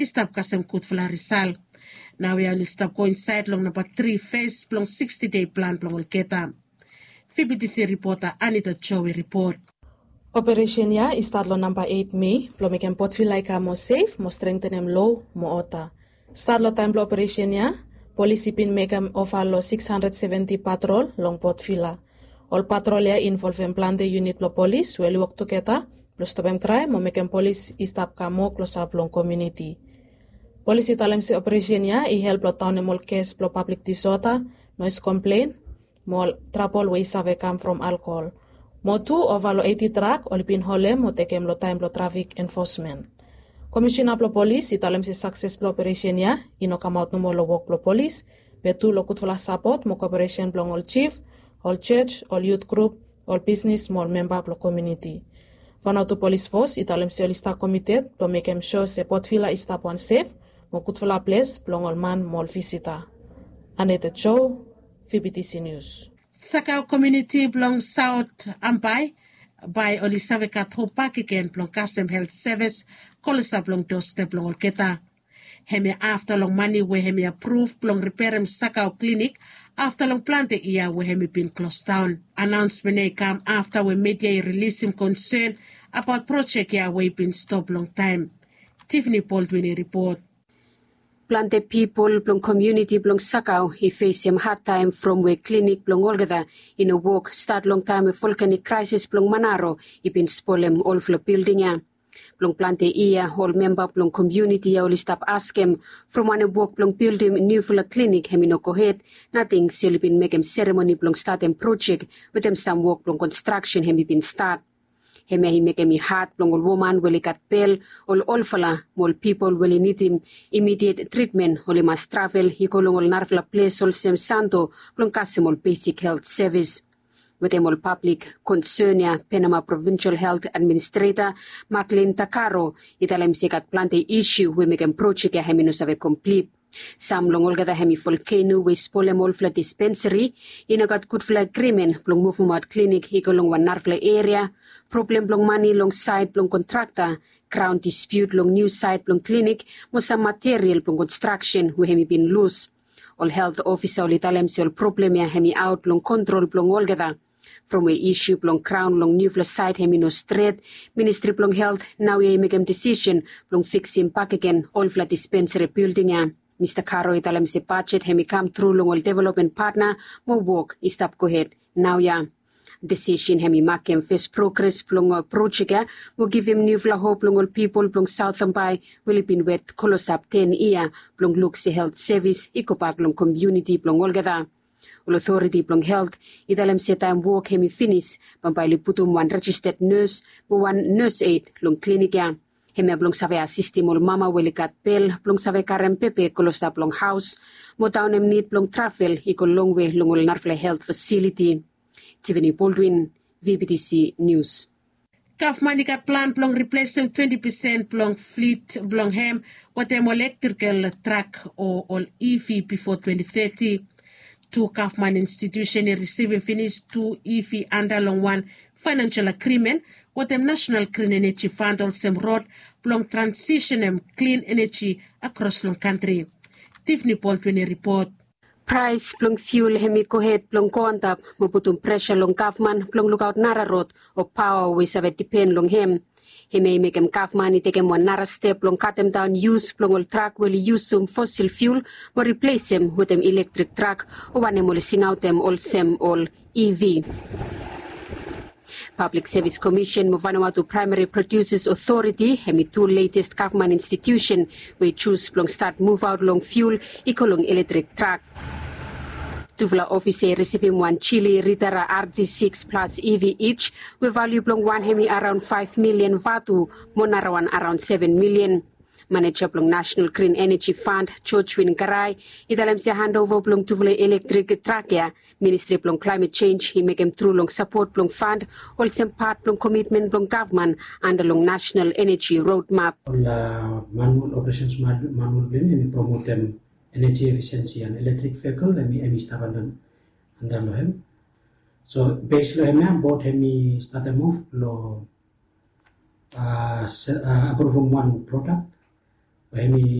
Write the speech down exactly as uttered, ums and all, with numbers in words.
i stap kasem gudfala risal. Naoia oli stap go insaed long namba tri fes blong siksti dei plan blong olgeta. Fibitisi ripota Anita Joe i ripot. Operesen ya i stat long namba eit Mei blong mekem Port Vila i kam moa sef mo strengtenem lo mo oda. Stat long taem blong operesen ya, polis i bin mekem ova long sikis handred seventi patrol long Port Vila. Ol patrol ya i involvem plante yunit blong polis we oli wok tugeta blong stopem kraem mo mekem polis i stap kam moa klosap long komuniti. Polis i talem se operesen ya i help long daonem ol kes blong pablik disoda, noes komplen, mo ol trabol we i save kam from alkohol. Mo tu ova long eiti trak oli bin holem mo tekem long taem blong trafik enfosmen. Komisina blong polis i talem se sakses blong operesen ya i no kamaot nomo long wok blong polis, be tu long gudfala sapot mo koperesen blong ol jif, ol jos, ol yut grup, ol bisnis mo ol memba blong komuniti. Vanuatu Polis Fos i talem se oli stap komited blong mekem sua se Port Vila i stap wan sef mo gudfala ples blong ol man mo ol visita. Aneta Jo, Fibitisi Nius. Sakau komuniti blong Saot Ambae bae oli save gat hop bakegen blong kasem helt sevis klosap long dostep blong olgeta. Hemia afta long mane we hemi apruv blong riperem Sakau klinik afta long plante yia we hemi bin klosdaon. Anaonsmen ya i kam afta we media i rilisim konsen abaot projek ya we i bin stop longtaem. Tiffany Baldwin i ripot. Plante pipol blong komuniti blong Sakau i fesem hadtaem from we klinik blong olgeta i no wok stat long taem we volkanik kraesis blong Manaro i bin spolem olfala bilding ya. Blong plante yia ol memba blong komuniti ya oli stap askem from wanem wok blong bildim niufala klinik hemi no gohed, nating se oli bin mekem seremoni blong statem projek wetem sam wok blong konstraksen hemi bin stat. Hemia i mekem i had blong ol woman we oli gat bel, ol olfala mo ol pipol we oli nidim imidiet tritmen oli mas travel i go long ol narafala ples olsem Santo blong kasem ol besik helt sevis. Wetem ol pablik konsen ya, Penama Provinsel Helt Administreta Maklin Takaro i talem se i gat plante isu we mekem projek ya hemi no save komplit. Sam long olgeta hemi volkeno we i spolem olfala dispensari, i no gat gudfala agrimen blong muvumaot klinik i go long wan narafala eria, problem blong mane long saed blong kontrakta, graon dispiut long niu saed blong klinik mo sam material blong konstraksen we hemi bin lus. Ol helt ofisa oli talem se ol problem ya hemi aot long kontrol blong olgeta. From we isu blong graon long niufala saed hemi no stret, Ministri blong Helt naoia i mekem disisen blong fiksim bakegen olfala dispensari bilding ya. Mista Karo i talem se bajet hemi kam tru long ol developmen patna mo wok i stap gohed naoia. Disisen hemi makem fes progres blong projek ya mo givim niufala hop long ol pipol blong Saot Ambae we oli bin wet klosap ten yia blong luk se helt sevis i gobak long komuniti blong olgeta. Ol otoriti blong helt i talem se taem wok hemi finis, bambae oli putum wan rejisted nes mo wan nes ed long klinik ya. Hemia blong save asistem ol mama we oli gat bel blong save karem bebe klosap long haos mo daonem nid blong travel i go longwe long ol narafala helt fasiliti. Tiffany Baldwin, V B T C News. Gavman i gat plan blong riplesem twenti pesen blong flit blong hem wetem ol elektrikel trak o ol E V bifo twenti teti. Tu gavman institusen i risivim finis tu E V anda long wan faenansel agrimen wetem Nasenal Grin Eneji Fand olsem rod blong transisenem klin eneji akros long kantri. Tiffany Baldwin i ripot. Praes blong fiul hemi gohed blong go antap mo putum presa long gavman blong lukaot nara rod o paoa we i save dipen long hem. Hemia i mekem gavman i tekem wan nara step blong katemdaon yus blong ol trak we oli yusum fosil fiul mo riplesem wetem ilektrek trak o wanem oli singaotem olsem ol E V. Pablik Sevis Komisen mo Vanuatu Praemari Produses Otoriti hemi tu letes gavman institusen we i jus blong stat muvaot long fiul i go long ilektrek trak. Tufala ofisa i risivim wan Geely Ritara R D six Plus E V ij we valiu blong wan hemi araon faef milian vatu mo narawan araon seven milian. Maneja blong Nasenal Grin Eneji Fand, George Win Garai, i talem se handova blong tufala ilektrek trak ya, Ministri blong Klaemet Jenj i mekem tru long sapot blong fand olsem pat blong komitmen blong gavman anda long Nasenal Eneji Rodmap. Ol manual, operesens manual blong hem i promotem eneji efisiensi and eletrik vehikel hem i stap anda long hem. So bes long hemia bot hem i statem of long apruvum wan prodak Ba em i